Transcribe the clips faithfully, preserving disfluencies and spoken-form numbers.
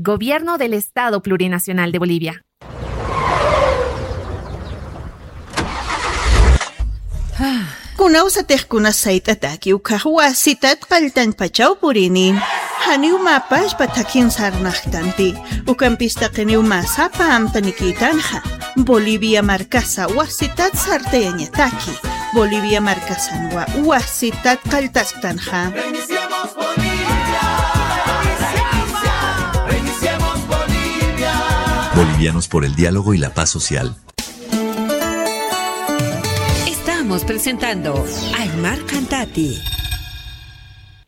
Gobierno del Estado Plurinacional de Bolivia. Kunawsatix kunas sayt'ataki ukkhax wasitat qalltañpachaw purini. Janiw mä pachpa thakhin sarnaqtanti. Ukampis taqiniw mä sapa amtanikïtanxa. Bolivia markasa wasitat sartayañataki. Bolivia markasanwa wasitat qalltasktanxa. Bolivianos por el diálogo y la paz social. Estamos presentando Aymar Qhantati.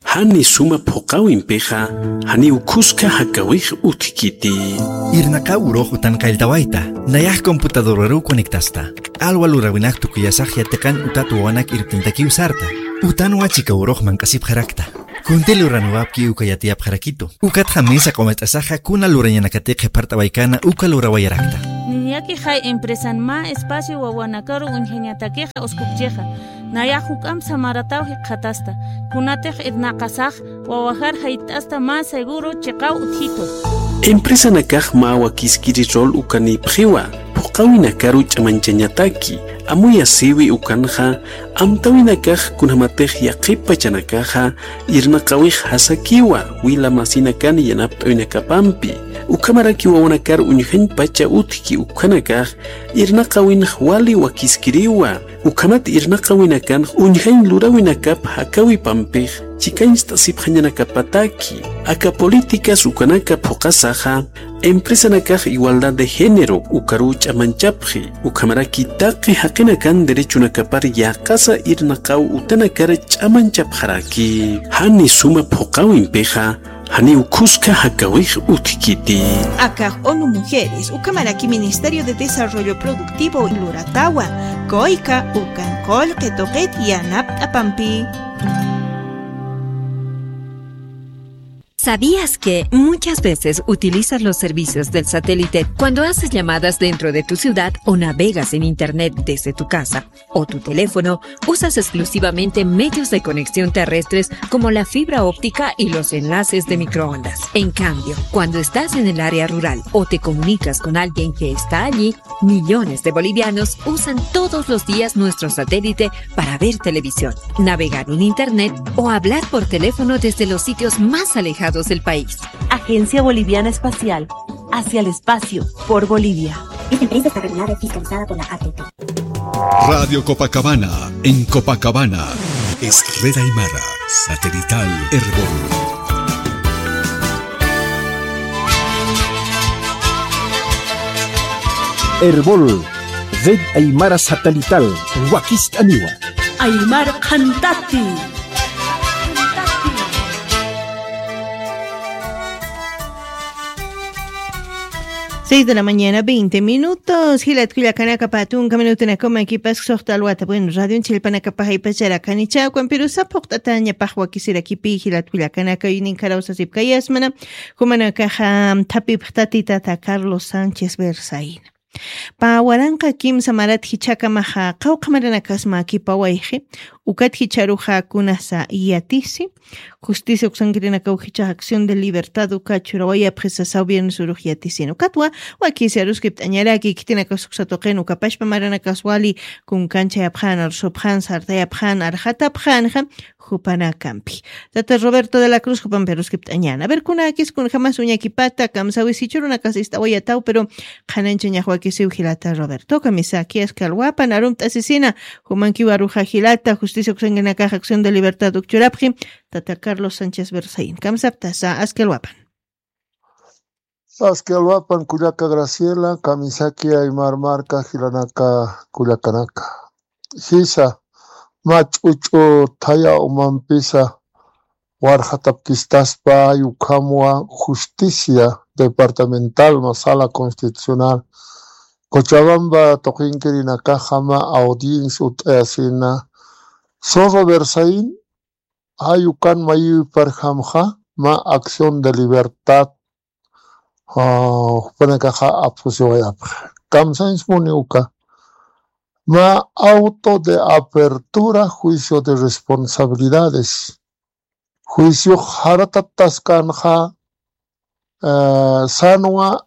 Jani suma phuqawimpixa, janiw khuska jakawix utjkiti. Irnaqaw urux utan qalltawayta, nayax computadoraruw conectasta. Q'alwa luräwinak tukuyasax yatiqan utat wawanak irpintakiw sarta. Utanwa chika urux manq'asipxarakta. Kunti luraniwapki uka yatiyapxarakitu. Ukatxa mesa q'umat'asaxa kuna lurañanakatix qhipart'awaykana uka lurawayarakta. Niñakixay empresan mä espacio wawanakaru uñjañatakixa uskupchixa. Nayax juk'amp samarataw jikxatasta. Kunatix irnaqasax wawajar jayt'asta mä seguro chiqaw utjitu. Empresanakax mä wakiskiri rol ukanïpxiwa, phuqawinakaru ch'amañchañataki, amuyasïwi ukanxa, amtäwinakax kunjamatix yaqhip pachanakaxa, irnaqawix jasakiwa, wila masinakan yanapt'awinakapampi, ukhamaraki wawanakar uñjañ pacha utjki ukhanakax, irnaqawinx wali wakiskiriwa, ukhamat irnaqawinakanx uñjañ luräwinakap jakawipampix chikañcht'asipxañanakapataki. Aka políticas ukanaka phuqasaxa, empresanakax igualdad de género ukaruw ch'amañchapxi, ukhamaraki taqi jaqinakan derechonakapar yäqasa irnaqaw utanakar ch'amañchapxaraki. Jani suma phuqawimpixa, janiw khuska jakawix utjkiti. Akax ONU Mujeres, ukhamaraki Ministerio de Desarrollo Productivo luratawa, COICA, ukan qullqi tuqit yanapt'apampi. ¿Sabías que muchas veces utilizas los servicios del satélite cuando haces llamadas dentro de tu ciudad o navegas en internet desde tu casa o tu teléfono? Usas exclusivamente medios de conexión terrestres como la fibra óptica y los enlaces de microondas. En cambio, cuando estás en el área rural o te comunicas con alguien que está allí, millones de bolivianos usan todos los días nuestro satélite para ver televisión, navegar en internet o hablar por teléfono desde los sitios más alejados del país. Agencia Boliviana Espacial, hacia el espacio, por Bolivia. Esta empresa está regulada y fiscalizada por la A T T. Radio Copacabana, en Copacabana. Es Red Aymara, satelital Erbol. Erbol, Red Aymara Satelital, wakist'aniwa. Aymar Qhantati. Seis de la mañana, veinte minutos. Jilat kullakanaka, pä tunka minutunakaw makipas suxta alwata. Bueno, radion chillpanakapax jayp'acharakani chawkan, pero sapa juqt'atañapax wakisirakipi, jilat kullakanaka, uynin karawsasipkayasmana. Jumanakaxa thapipxtati tata Carlos Sánchez Berzaín. Pä waranqa kimsa marat jichhakamaxa qawqha maranakas mäkipawayxi, ukat jichharuxa kunasa yatisi, Justicia uksankirinakaw jichhax Acción de Libertad uka churawayapxi sasaw viernes urux yatisina. Ukatwa wakisi aruskipt'añaraki, khitinakax uksa tuqin uka pachpa maranakas wali kunkanchayapxän, arsupxän, sartayapxän, arxatapxänxa, jupanakampi. Tata Roberto de la Cruz jupampi aruskipt'añäna. A ver, kunäkis kunjamas uñakipata, kamsawis jichhürunakas ist'awayataw, pero qhanañchañax wakisiw jilata Roberto. Kamisaki, aski alwapan arumt'asisina, jumankiw aruxa jilata, Justicia uksankirinakax Acción de Libertad uk churapxi, tata Carlos Sánchez Berzaín. Kamsaptasa, aski alwapan. Aski alwapan kullaka Graciela, kamisaki Aymar marka jilanaka kullakanaka. Jisa, mä ch'uch'u thaya umampisa warxatapkistaspa, ukhamwa justicia departamental mä sala constitucional Cochabamba tuqinkirinakaxa mä audiencia utt'ayasina, Zorro Berzaín, jay ukan mayïwiparjamxa, mä Acción de Libertad, ah, jupanakaxa apsusiwayapxa. Kamsañs muni uka. Mä auto de apertura, juicio de responsabilidades. Juiciox jaratataskanxa, eh, sanwa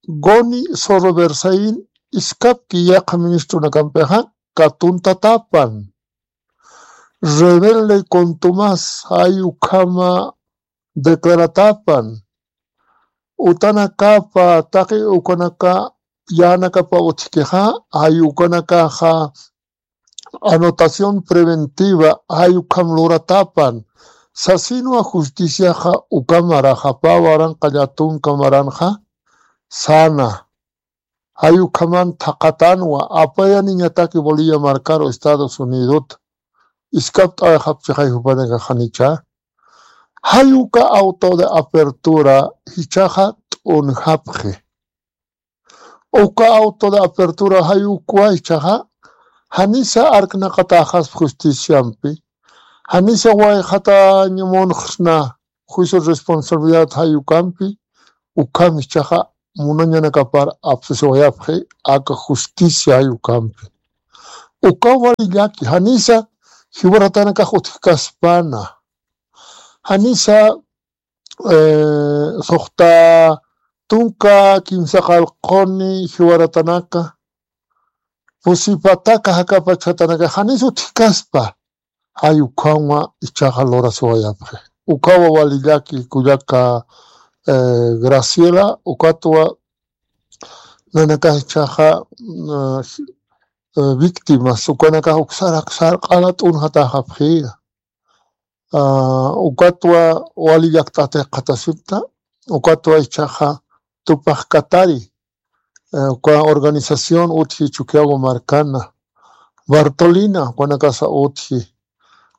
Goni Zorro Berzain iskapki yaqha ministrunakampixa katuntatapan. Rebelde contumaz, jay ukhama declaratapan. Utanakapa, taqi ukanaka, yanakapa utjkixa, jay ukanakaxa anotación preventiva, jay ukham luratapan. Sasinwa justiciaxa ukamaraxa, pä waranqa llätunka maranxa, sana. Jay ukhaman thaqatanwa, apayaniñataki Bolivia markaru Estados Unidot. Iskapt'awayxapchixay jupanakax janicha. Jay uka auto de apertura jichhaxa t'unjapxi. Uka auto de apertura jay ukwa jichhaxa, janisa arknaqatäxaspa justiciampi, janisa wayxatañ munxsna juicio responsabilidad jay ukampi, ukham jichhaxa munañanakapar apsusiwayapxi aka justicia jay ukampi. Ukaw wali llaki, janisa jiwaratanakax utjkaspana. Janisa, eh, suxta tunka kimsa qallquni jiwaratanaka, pusi pataka jakapachjatanaka, janis utjkaspa. Jay ukhawa jichhaxa lurasiwayapxi. Ukawa wali llaki kullaka, eh, Graciela, ukatwa nanakax jichhaxa, eh, eh, víctimas, ukanakax uksar, uksar q'ala t'unjatäxapxiya. Ah, ukatwa wali llakt'at jikxatasipta, ukatwa jichhaxa Tupac Katari, eh, uka organización utji Chukiyawu markana, Bartolina, ukanakasa utji,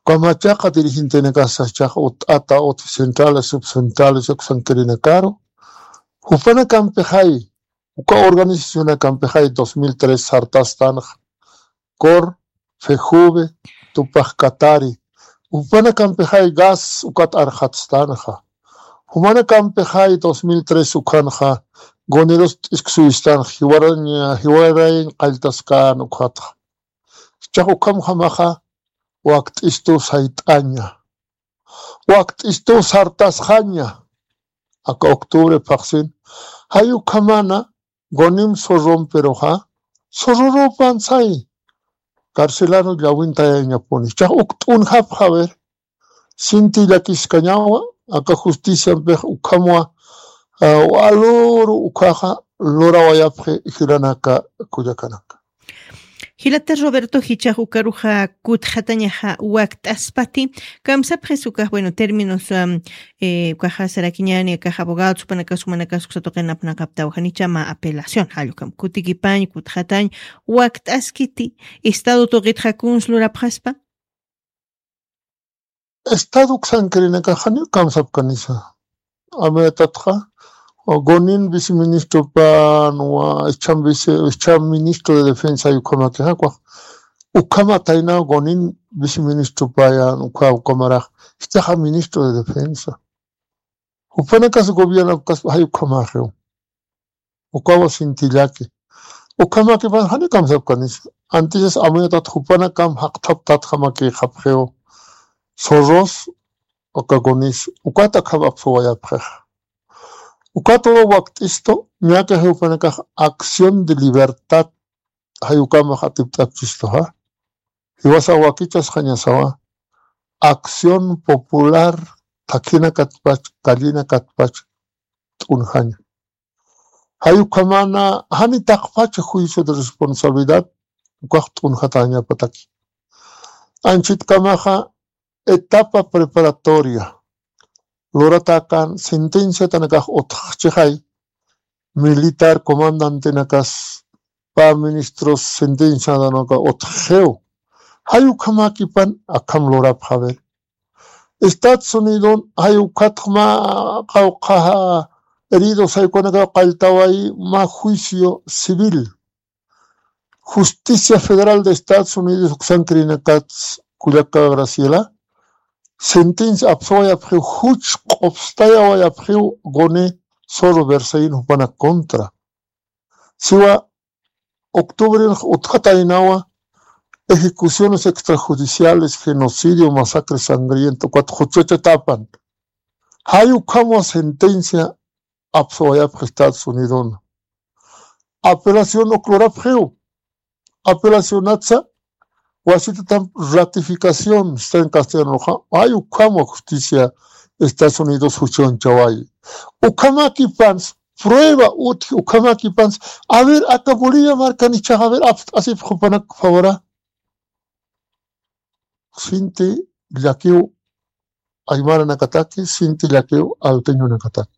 uka machaqa dirigentenakasa jichhaxa utt'ata utji centrales, subcentrales, uksankirinakaru, jupanakampixay, uka organizacionakampixay dos mil tres sartastanxa, COR, FEJUVE, Tupac Katari, jupanakampixay gas ukat arxatstanxa. Jumanakampixay dos mil tres ukhanxa, Gonerus t'isksuwistanxa, jiwarañ, jiwarañ qalltaskän ukhatxa. Jichhax ukhamjamaxa, wakt'istu sayt'aña. Wakt'istu sartasxaña. Aka octubre phaxsin. Jay ukhamana, Gonim Zorrompiruxa, Zorrorupan say, carcelano llawintayañapuni. Jichhax uk t'unjapxa, a ver, sinti llakiskañawa, aka justiciampix ukhamwa, ah, waluru ukhaxa lurawayapxi jilanaka kullakanaka. Jilata Roberto, jichhax ukaruxa kutxatañaxa wakt'aspati, kamsapxis ukax, bueno, términos, am, eh, ukaxa sarakiñäni, akax abogados, jupanakas, jumanakas uksa tuqin apnaqaptawa, janicha mä apelación, jall ukham kutikipañ, kutxatañ, wakt'askiti, Estado tuqitxa kuns lurapxaspa? Estado uksankirinakax janiw kamsapkanisa. Amuyatxa, Gonin viceministropan, wa ichham vice, ichham ministro de defensa, ukhamaki, jakuax. Ukhama tayna Gonin viceministropayan, ukha, ukhamarax, jichhaxa ministro de defensa. Jupanakas gobierno, ukas, jay ukhamaxiw. Ukawa sinti llaki. Ukhamakipan jani kamsapkanisa. Antises amuyatxa jupanakam jaqthaptatjamakixapxiw. Zorros, uka Gonis, ukat akham apsuwayapxixa. Ukatwa wakt'istu, ñakix jupanakax acción de libertad, jay ukamax atipt'apchistuxa. Jiwasa wakichasxañasawa, acción popular, thakhinakatpach, callenakatpach, t'unjaña. Jay ukhamana, jani taqpach juicio de responsabilidad, ukax t'unjatäñapataki. Anchitkamaxa, etapa preparatoria. Luratäkän sentenciatanakax utjxchixay, militar comandantenakas, pä ministros sentenciatanaka utjxiw. Jay ukhamakipan akham lurapxa, a ver. Estados Unidon, jay ukhatxa mä qawqha heridos, jay ukanakaw qalltawayi mä juicio civil. Justicia Federal de Estados Unidos uksankirinakats kullaka Graciela, sentencia apsuwayapxiw, juch q'upstayawayapxiw Goni Zorro Berzain jupanak contra. Siwa octubrenx utjataynawa ejecuciones extrajudiciales, genocidio, masacre sangriento, ukat juchachatapan. Jay ukhamwa sentencia apsuwayapxi Estados Unidon. Apelación uklurapxiw. Apelacionatsa wasitatam ratificación está en castellano. Ay ukhama justicia Estados Unidos juchunchawayi. Ukhamakipans prueba utji ukhamakipans. A ver, aka Bolivia markan ichaxa a ver apst'asipxi jupanak favora. Sinti llakiw aymaranakataki, sinti llakiw alteñonakataki.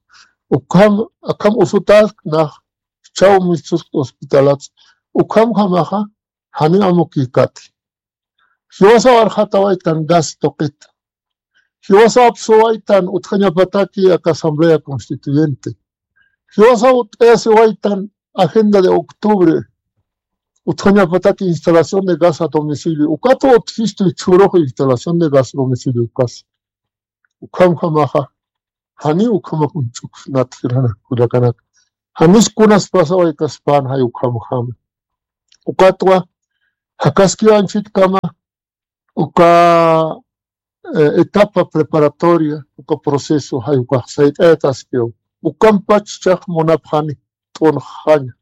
Ukham akham usutal nax chaw mistus hospitalat. Ukhamjamaxa jani amukikati. Jiwasaw arxatawaytan gas tuqita. Jiwasaw apsuwaytan utjañapataki aka asamblea constituyente. Jiwasaw ut'ayasiwaytan agenda de octubre utjañapataki instalación de gas a domicilio. Ukatu utjistu churux instalación de gas a domicilio ukas. Ukham jamaxa jani ukhama kunch'uksnat jirana kullakanaka. Janis kunas pasaway kaspan jay ukham jama. Ukatwa jakaskiwanchitkama uka etapa preparatoria uka proceso jay ukax sayt'ayataskiw. Ukampach chax munapxani t'unxaña.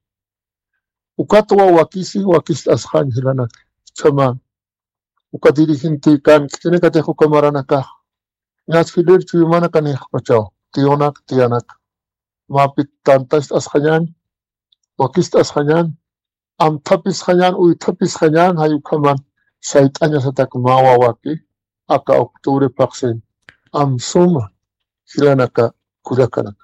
Ukatwa wakisi wakist'asxañ jilanak chama. Uka dirigente kan khitinakatix uka maranakax ñas jilïr chuyumanakanixpachaw tiyunak tiyanak mapit tantast'asxañan wakist'asxañan amthapisxañan uythapisxañan jay ukhaman sayt'añasatak mä wawaki aka octubre paqsin amsuma jilanaka kullakanaka.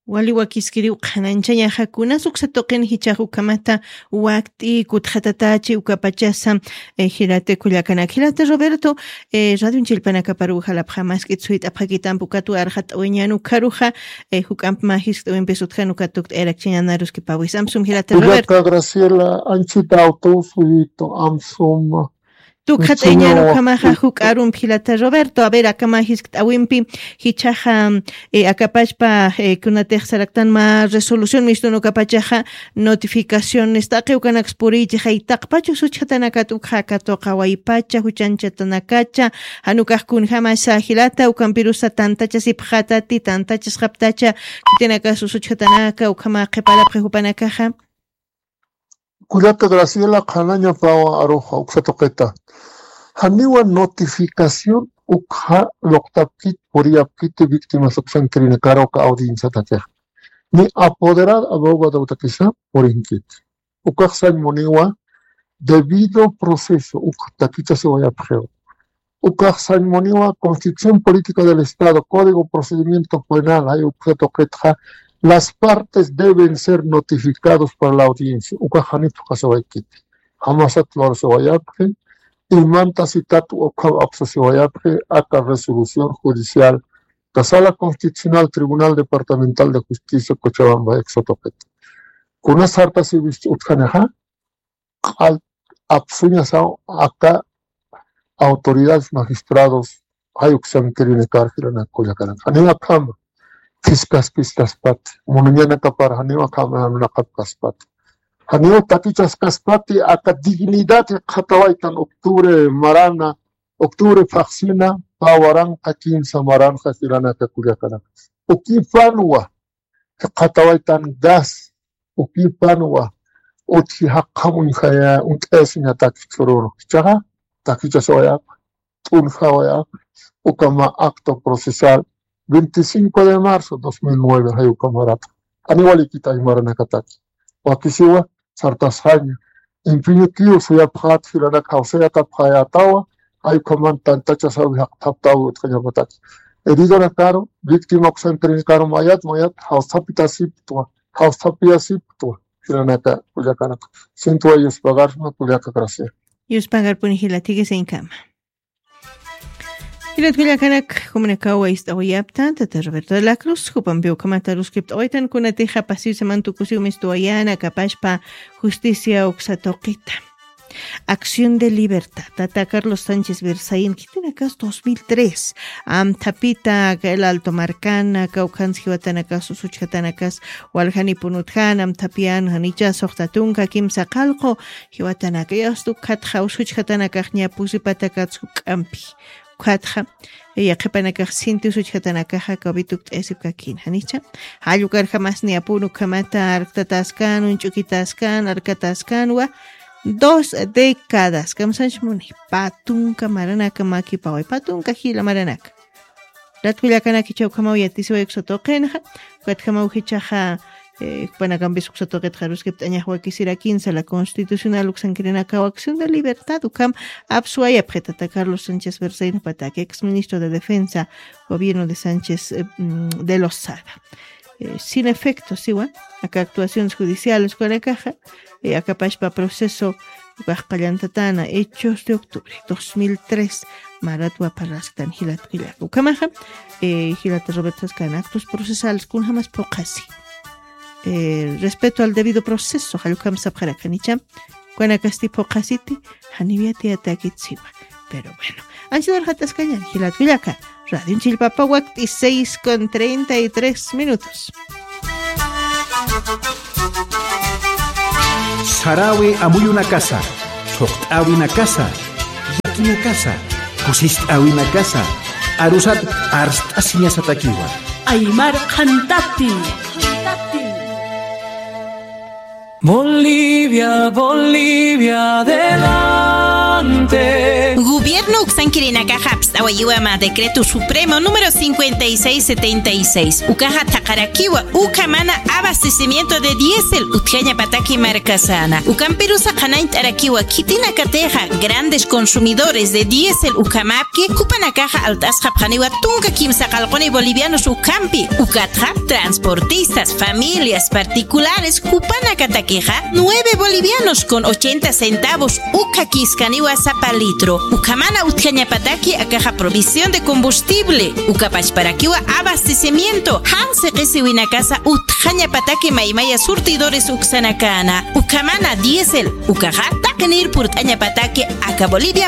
Wali wakiskiriw qhananchañaxa kunas uksa tuqin jichax ukhamata wakt'i kutxatatachi ukapachasa. Jilata kullakanak jilata Roberto, radion chillpanakaparuw jalapxamask'it suyt'apxakitampi ukatwa arxat'awiñan ukharuxa juk'amp mä jiskt'awimpis utjan ukat tukt'ayarakchañanaruskipawis amsum jilata Roberto. Kullaka Graciela anchita awtuw suytu amsuma. Tukxat'ayañan ukhamaxa juk'arumpi jilata Roberto a ver akama jiskt'awimpi jichhaxa akapachpa kunatix saraktan mä resolución mistun ukapachaxa notificaciones taqi ukanaks puriychixay taqpach usuchxatanakat ukxa aka tuqawaypacha juchañchatanakacha jan ukax kunjamasa jilata ukampirusa tantachasipxatati tantachasxaptacha khitinakas usuchxatanaka ukhama qhiparapxi jupanakaxa. Kullaka Graciela qhanañapawa aruxa uksa tuqita. Janiwa notificación ukxa luqtapkit puriyapkit víctimas uksan kirinakar uka audienciatakix. Ni apoderad abogadotakisa purinkit. Ukax sañ muniwa debido proceso ukxa takichasiwayapxiw. Ukax sañ muniwa Constitución Política del Estado, Código Procedimiento Penal, jay uksa tuqitxa, las partes deben ser notificados para la audiencia. Ukax janipxasiwaykiti. Jamasat lurasiwayapxi, imantasitat ukham apsasiwayapxi, aka resolución judicial, ka Sala Constitucional Tribunal Departamental de Justicia Cochabamba, uksa tuqit. Kuna sartasiwist utjanixa, q'al apsuñasaw aka autoridades magistrados jay uksan kirinakar jilanak kullakanaka. Janiw akhama phiskaspi istaspati, munañanakapar janiw akhama nanaqapkaspati. Janiw takichaskaspati aka dignidad jikxatawaytan octubre marana, octubre phaxsina, pä waranqa kimsa maranxa jilanaka kullakanaka. Ukipanwa jikxatawaytan gas, ukipanwa utji jaqjam uñjaya uñt'ayasiñatak chururu. Jichhaxa takichasawayapxi, t'unjawayapxi, uka mä acto procesal veinticinco de marzo dos mil nueve jay uka marata. Janiw walikit aymaranakataki. Wakisiwa sartasxaña. Impiñukiw suyapxat jilanak jawsayatapxayätawa, jay ukhaman tantachasaw jaqthaptaw utjañapataki. Heridonakaru, víctima uksan kirinakaru mayat, mayat, jawsapitasiptwa, jawsapiyasiptwa, jilanaka kullakanaka. Sintwa yuspagarsma kullaka Graciela. Yuspagarpuni jila, thikisiñkama. Jilat kullakanak, jumanakaw ist'awayapta, tata Roberto de la Cruz, jupampi ukhamat aruskipt'awaytan kunatixa pasiwsaman tukusiw mistuwayana, akapachpa justicia uksa tuqita. Acción de Libertad, tata Carlos Sánchez Versaín, khitinakas dos mil tres, amthapita, aka El Alto markana, kawkhans jiwatanakas, usuchjatanakas, waljanipun utjana, amthapiyana, janicha suxta tunka, kimsa qallqu, jiwatanaka, yasta ukhatxa, usuchjatanakax ña pusipatakats juk'ampi. Ukatxa, eh, yaqhipanakax sintius uchjatanakaxa covid ukt'ayasipkakïn, janicha. Jall ukarjamasni apun ukhamata arktatäskän, uñch'ukitäskän, arktatäskänwa, dos décadas, kamsanch muni, pä tunka maranaka makipaway, pä tunka jila maranaka. Latkullakanaki chawkhamaw yatisiway uksa tuqinxa, ukatjamaw jichhaxa, eh, jupanakampis uksa tuqit jaruskipt'añax wakisirakin sala constitucional uksankirinakaw acción de libertad ukham apsuwayapxi tata Carlos Sánchez Berzain, pataki ex ministro de Defensa, gobierno de Sánchez, eh, mm, de Lozada. Eh, sin efecto, siwa, aka actuaciones judiciales ukanakaxa, eh, akapachpa proceso, ukax qallantatana, hechos de octubre dos mil tres, maratwa parlastan jilat kullaka. Ukhamaxa, eh, jilata Roberto Sascana, actos procesales, kunjamas phuqhasi. Eh, respeto al debido proceso, jall ukham sapxarakanicha, ukanakasti phuqhasiti, janiw yatiyatäkit siwa. Pero bueno, anchhita warxataskañan, jilat kullaka, Radio Chillpapa wakt'i seis con treinta y tres minutos. Sarawi amuyunakasa, thuqt'äwinakasa, yakinakasa, kusist'äwinakasa, arusat arst'asiñasatakiwa. Aymar qhantati. Bolivia, Bolivia, adelante. Gobierno uksankirinakaxa apst'awayiwa mä decreto supremo número cincuenta y seis setenta y seis. Ukaxa thaqharakiwa, ukhamana abastecimiento de diésel utjañapataki markasana. Ukampirusa qhanañt'arakiwa, khitinakatixa grandes consumidores de diésel ukhamäpki, jupanakaxa alt'asxapxaniwa tunka kimsa qallquni bolivianos ukhampi. Ukatxa, transportistas, familias particulares, jupanakatakixa, nueve bolivianos con ochenta centavos ukhakiskaniwa sapa litro. Ukhamana utjañapataki akaxa provisión de combustible. Ukapachparakiwa abastecimiento, jan siqisiwinakasa utjañapataki maymaya surtidores uksanakana. Ukhamana diésel, ukaxa taqinir purt'añapataki aka Bolivia